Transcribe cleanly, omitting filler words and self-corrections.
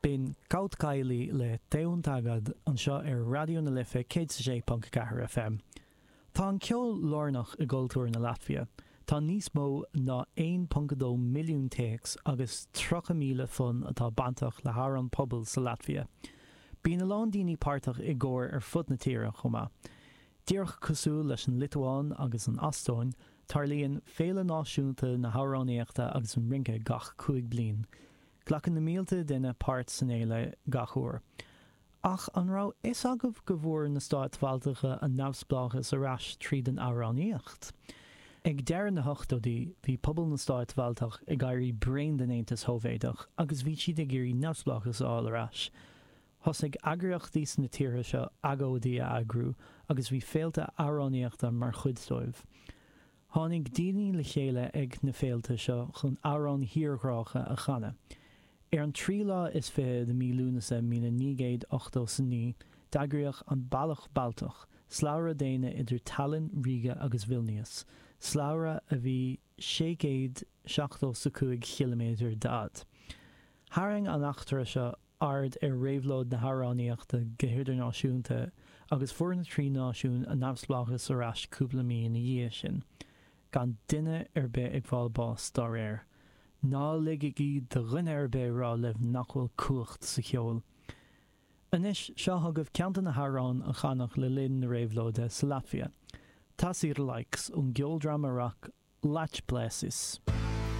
B'in Kaut Kaili le Te Un Tagad anseo ar Raidió na Life 106.4 FM. Tá an ceol lárnach i gcultúr na Laitvia. Tá níos mó ná 1.2 milliún téacs agus 30,000 fonn atá bainteach le hamhráin pobail sa Laitvia. Bíonn a lán daoine páirteach i gcóir ar fud na tíre chomh maith. Díreach cosúil leis an Liotuáin agus an Eastóin, tarlaíonn Féile Náisiúnta na hAmhránaíochta agus an Rince gach 5 bliain. Glacann na mílte duine páirt san fhéile gach uair. Ach an raibh fhios agaibh go bhfuair na Stáit Bhaltacha a neamhspleáchas ar ais tríd an amhránaíocht? Ag deireadh na hochtóidí, bhí pobal na Stáit Bhaltach ag éirí bréan den Aontas Shóivéadach agus bhí siad ag iarraidh neamhspleáchas a fháil ar ais. Thosaigh eagraíochtaí sna tíortha seo agóidí a eagrú agus bhí féilte amhránaíochta mar chuid dóibh. Tháinig daoine le chéile ag na féilte seo chun amhráin thírghrácha a chanadh. Ar an tríú lá is fiche de mí Lúnasa 1989, d'eagraíodh an Bealach Baltach, slabhra daonna idir Tallinn, Ríge agus Vilnius, slabhra a bhí 675 chiliméadar d'fhad. Tharraing an eachtra seo aird ar réabhlóid na hamhránaíochta go hidirnáisiúnta agus fuair na trí náisiún a neamhspleáchas ar ais cúpla mí ina dhiaidh sin, gan duine ar bith ag fáil bás dá réir. Ná ligigí do dhuine ar bith rá libh nach bhfuil cumhacht sa cheol. Anois, seo chugaibh ceann de na hamhráin a canadh le linn na réabhlóide sa Laitvia, Tas ir laiks ón gceoldráma rac Lāčplēsis.